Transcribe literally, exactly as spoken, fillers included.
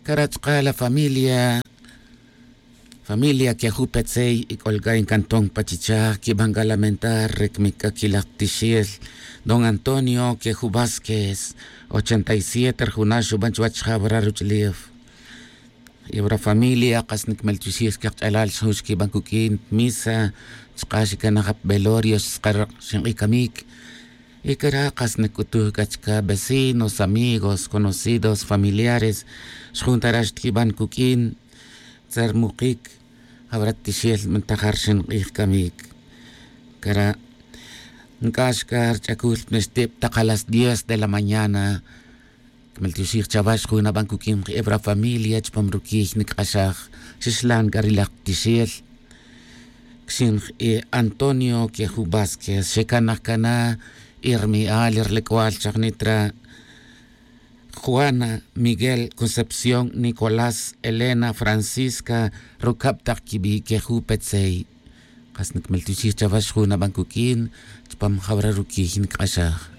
Cara' chka la familia familia queju petzey y c'ol c'a in cantón pa chichaj quiban c'a lamentar re cmic c'a quilaj tixel don antonio queju vásquez. Ochenta y siete ri juna' xuban chuwech jawra ruch'ulef. Y wra familia kas nicmeltioxij cakch'alal xjun xquiban cuq'uin misa chka' xicanaj ap velorio xtzakar xink'i camic. Y cara' kas nicc'utuj c'a chca vecinos amigos conocidos familiares xjun ta rax tiquiban cuq'uin. Tzermukic jawrat tixel mantajar xink'ij camic. Cara' nc'ax c'a rich'acul nextib tak a las diez de la mañana. Cmeltioxij chawax jun aban cuq'uin k'e wra familia chupam ruquiy nic'axaj. Xixlan c'a ri laj tixel xinj e antonio queju vásquez xecanaj cana. Y rmi'al y rlec'wal chajnit ra juana miguel concepción nicolás elena francisca rucab tak quibi' queju petzey. Kas nicmeltioxij chawax jun aban cuq'uin chupam jawra ruquiy nic'axaj.